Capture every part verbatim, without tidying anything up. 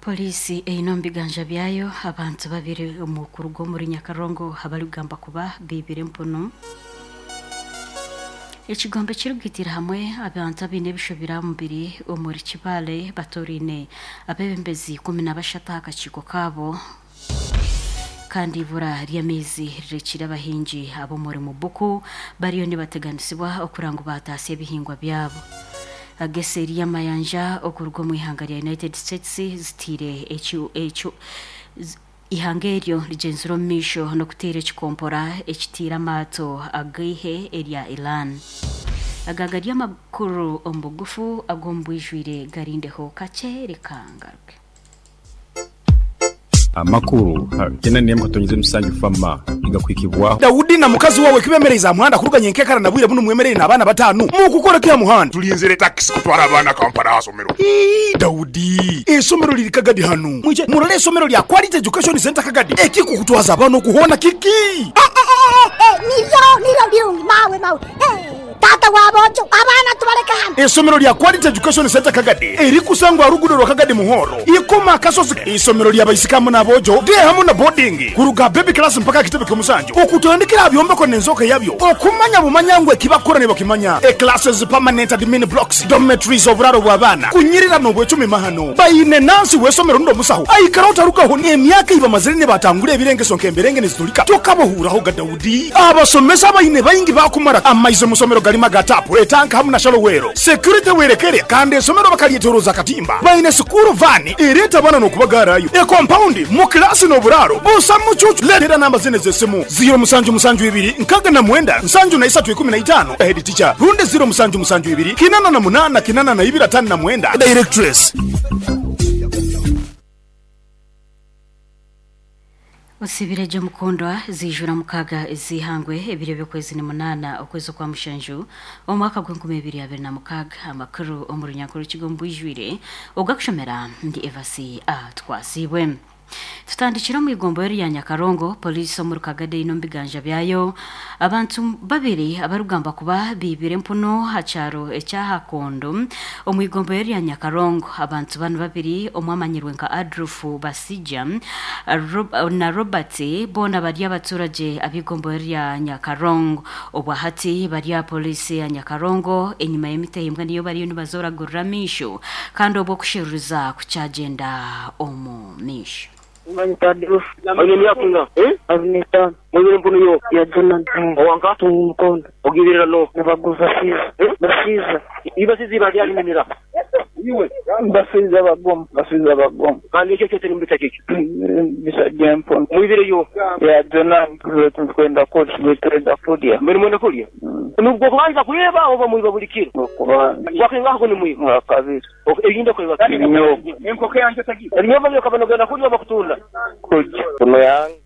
Polisi eine omu biganja byayo abantu babiri omu kuruga omuri Nyakarongo abarikugamba kuba biibire empunu. Ekigombe kirikugitira hamwe abantu abaine ebishobire aha mubiri omuri Kibaale batoraine abeebembezi ikumi na bashatu aha kakiiko kaabo. Kandi eibura ry'amaizi rirekire abahingi ab'omuri Mubuku bariyo nibateganisibwa okura ngu baataasya ebihingwa byabo. Ageseeri y'amayanja okuruga omu ihanga rya United States ziteire ekyo ekyo ihanga eryo rigyenzire omu maisho n'okuteera ekikompora ekitiire amaato ag'eihe erya Iran. Aga gari amakuru omu bugufu ag'omu bwijwire garindeho kakye reka ngaruke. Amakuru kyenda n'emwe katonyeze musanju fama nigakuhikibwaho. Daudi na mukazi wawe kibemereize aha muhanda kuruga nyenkekara na bwire bunu mwemereire n'abaana bataano mukukora ki aha muhanda? Tulinzire takisi kutwara abaana Kampala aha somero. Ii, Daudi, eisomero liri Kagadi hanu. Mwije murole eisomero lya Quality Education Center Kagadi. Ekikukutwaza abaana okuhoona kiki? Eh, eh, eh, eh, niryo niryo birungi mawe mawe. Eh, tata w'aboojo abaana tubaleke hano. Eisomero lya Quality Education Center Kagadi erikusangwa aha ruguudo rwa Kagadi Muhoro, Ikoma Akasozi. Eisomero lya baisiki hamwe n'aboojo, day hamwe na boarding, kuruga baby class mpaka aha kitebe ky'omusanju. Okutandikira aha byombeko n'enzooka yabyo, okumanya bumanya ngu eki bakukora nibakimanya. E-classes, permanent admin blocks, dormitories, oburaaro bw'abaana, kunyirira n'obwecumi mahano. Baine nansi w'eisomero rundi omusaho aikara otarugaho. Emyaka ei bamazire nibatangura ebirengeso nk'emberenge niziturika, tokabahuuraho ga Daudi. Abasomesa abaine baingi bakumara amaizi omu somero garimu aga taapu, etanka hamwe na shalowero. Security werekere kandi eisomero bakaryetoroza akatimba. Baine sikuuru vaani ereeta abaana n'okubagaarayo. E-compound mu kilaasi n'oburaaro busa mucuucu. Leetera namba zinu ez'esimu ziro musanju musanju ibiri nkaaga na mwenda nsanju na isatu ikumi na itaano head teacher rundi ziro musanju musanju ibiri kinana na munaana kinana na ibiri ataano na mwenda directress. Osibire gye mukundwa, ziijura mukaaga ez'eihangwe ebiro by'okwezi ni munaana okwezi okwa mushanju omwaka gw'enkumi ibiri abiri na mukaaga. Amakuru omu runyankore rukiga omu bwijwire ogakushomera ndi Evasi Atwasiibwe. Tutandikire omu igomboyo rya Nyakarongo, poliisi omuri Kagadi eine omu biganja byayo abantu babiri abarikugamba kuba biibire empunu aha kyaro ekya Hakondo omu igomboyo rya Nyakarongo. Abantu banu babiri omwe amanyirwe nka Adolf Basija Rob, na Robert boona bari abaturage ab'igomboyo rya Nyakarongo. Obwahati bari aha poliisi ya Nyakarongo enyima y'emitehimbwa niyo bariyo nibazoragurira amaisho kandi obwo okusheruriza kukyagenda omu maisho. Banyita Adolf. Oine emyaka inga? Abiri n'etaano. Mwibire empunu yo? Ya Jonan. Owanka? Tumukondo. Ogibirira no? Nibaguza Siza. Basiza. Ibasiza ibara ryariminira. Basiza bagoma. Basiza bagoma. Kandi ekyo kyose nimubisa kiki? Bisa gy'empunu. Mwibire yo? Ya Jonan. Twenda kurya. Twenda kurya. Mbere mwenda kurya? Nubwo kubanza kuiba oba mwiba buli kiro? Okubanza. Wakinga ko nimwiba? Mwa kabiri. Eyinda kuiba. Ebinyobwa. Enkoko yange tagiye. Ebinyobwa byo kabanogenda kurya oba kutunda? Kurya. Kuno yange.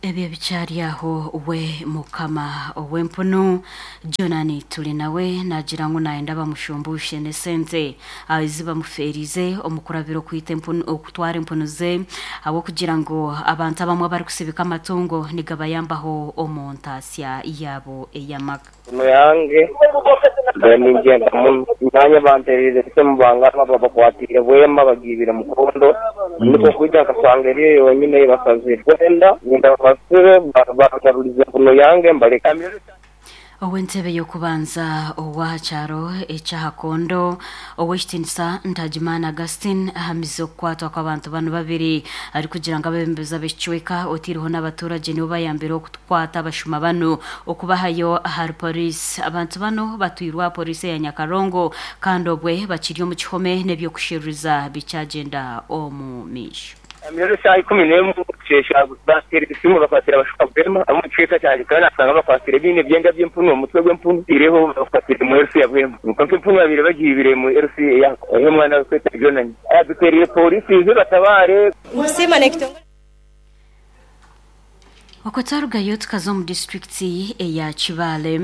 Ebyo bikyari aho we mukama ow'empunu Jonani turi nawe nagira ngu nayenda bamushumbushe n'esente ezi bamufeerize omu kurabira okwita empunu okutwara empunu ze ahabw'okugira ngu abantu abamwe abarikusibika amatungo nigabayambaho omu ntaasya yaabo ey'amaka. Kuno yange ningenda muno nanye bantererize esimu bangamba babakwatire bwema bagibire mukondo niko kwija akasanga eriyo yonyine basazire kwenda ngenda basire bangarurize empuno yange mbaleka. Ow'entebe y'okubanza owa kyaro ekyahakondo ow'ekitinisa Ntagimana Augustine ahamize okukwatwa kw'abantu banu babiri arikugira ngu abebembezi ab'ekicweka otiireho n'abaturage nibo bayambire okukwata abashuma banu okubahayo ahari polisi. Abantu banu batwirwe aha polisi ya Nyakarongo kandi obwe bakiri omu kihome n'ebyokusheruriza bikyagenda omu maisho. Emiro saa ikumi n'emwe kukyesha baterera esimu bakwatira abashuka bwema abo mu kicweka kyangye kandi nasanga bakwatire biine ebyenda by'empunu omutwe gw'empunu ireho bakwatire mu erusi ya bwema nuko nk'empunu babiri bagibire mu erusi ya omwana wekweta Jonani aduterire polisi ize batabare. Nkusima n'ekitongole. Okwo twarugayo tukaza omu disitulikiti eya Kibaale.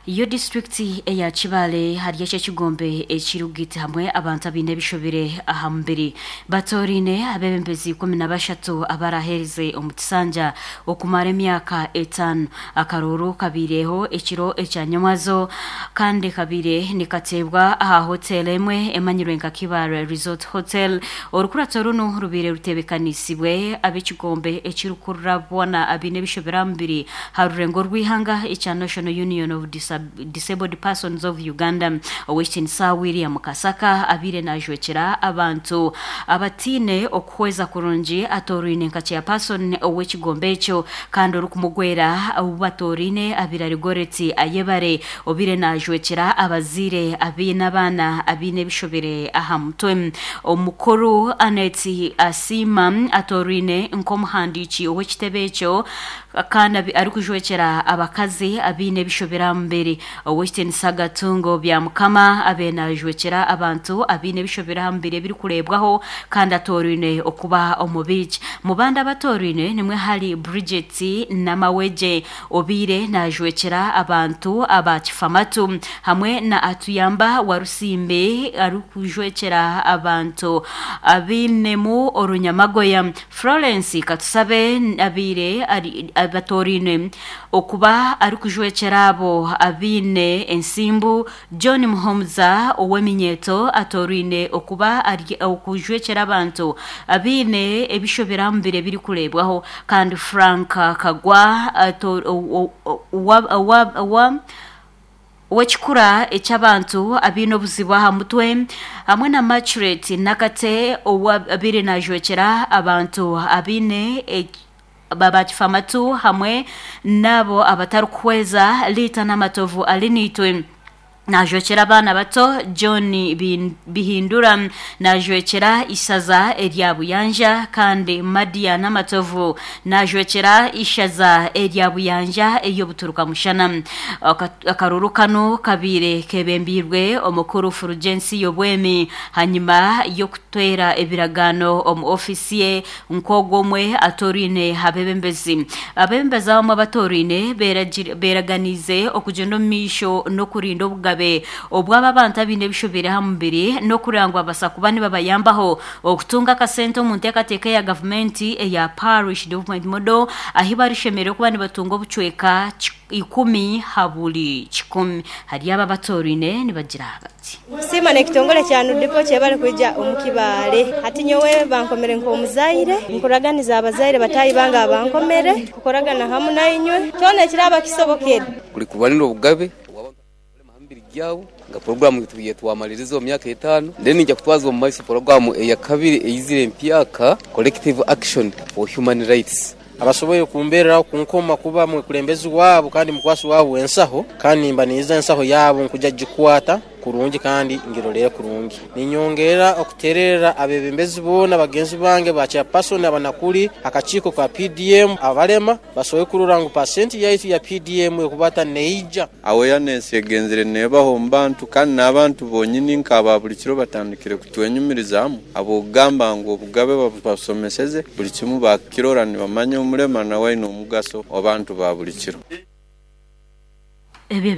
Iyo disitulikiti eya Kibaale hari ekyo ekigombe ekirugiti hamwe abantu abaine ebishobire aha mubiri batorine abebembezi ikumi na bashatu abaraherize omu kisanja okumara emyaka etaano. Akaruuru kabiireho ekiro ekya nyamwazo kandi kabiire nikateebwa aha hoteri emwe emanyirwe nka Kibaale Resort Hotel. Orukurato runo rubiire rutebekanisibwe ab'ekigombe ekirikurabwana abaine ebishobire aha mubiri ha rurengo rw'ihanga ekya National Union of Disab Disabled Persons of Uganda. Owekitiinisa William Kasaka abiire najwekyera abantu abatiine okuhweza kurungi atorine nka chairperson ow'ekigombe ekyo, kandi orikumugwera obu batorine abiire ari Goreti Ayebare obiire najwekyera abaziire abiine abaana abiine ebishobire aha mutwe. Omukuru Annette Asiima atorine nk'omuhandiiki ow'ekitebe ekyo kandi arikujwekyera abakazi abiine ebishobire aha mubiri. Owekitiinisa Gatungo bya Mukama abe najwekyera abantu abiine ebishobire aha mubiri ebirikureebwaho kandi atorine okuba omubiiki. Mu bandi abatorine nimwe hari Bridget Namaweje obiire najwekyera abantu aba Kifamatu, hamwe na Atuyamba Warusimbi arikujwekyera abantu abiinemu orunyamagoya. Florence Katusabe abiire abatorine okuba arikujwekyera abo abiine ensimbu. John Muhumuza ow'eminyeeto atorine okuba okujwekyera abantu abiine ebishobera aha mubiri ebirikureebwaho, kandi Frank Kagwa ow'ekikura eky'abantu abiine obuzibu aha mutwe, hamwe na Maturate Nakate owabiire najwekyera abantu abiine babakifamatu hamwe n'abo abatarikuhweza. Liita n'Amatovu Alinitwe najwekyera abaana bato. John Bihindura najwekyera ishaza erya Buyanja, kandi Madia n'Amatovu najwekyera ishaza erya Buyanja ey'obuturuka mushana. Akaruru kano kabiire kebembirwe omukuru Fulgence Yobwemi hanyuma y'okutwera ebiragaano omu ofisi ye nk'ogwomwe atorine abebembezi. Abebembezi abamwe abatorine beraganize okugyenda omu maisho n'okurinda obugabe obwaba abantu abiine ebishobere aha mubiri n'okurangwa basa kuba nibabayambaho okutunga akasente omu nteekateeka ya gavumenti eya Parish Development Model, ahi barishemereire kuba nibatunga obucweka ikumi ha buri kikumi. Hari aba abatorine nibagira bati: Siima n'ekitongore kya Nudipo kyebari kwija omu Kibaale. Hati nyowe bankomere nk'omuzaire, nkuraganiza abazaire batayi bange abankomere kukoragana hamu nainywe kyona ekiraba kisobokere. Kuri kurwanira obugabe gyabo nga programu yetwamaliriza omu myaka etaano, then nja kutwaza omu maiso programu eya kabiri eyizire empyaka, Collective Action for Human Rights. Abasoboire kumbeereraho kunkoma kuba mukulembezi waabo kandi mukwasi waabo wensaho, kandi nimba niiza ensaho yaabo nkuja gikwata kurungi kandi ngirolere kurungi. Ninyongerera okutererera abebembezi boona bagenzi bange ba chairperson abanakuli akakiiko ka P D M abalema basoboye kurora ngu pasenti yaitu ya P D M ekubata neija. Awareness egenzire nebaho omu bantu, kandi n'abantu bonyini nk'aba buli kiro batandikire kutwenyumirizaamu ab'okugamba ngu obugabe babasomeseze buli kimu bakirora nibamanya omulema nawe aine omugaso abantu ba buli kiro. Ebyo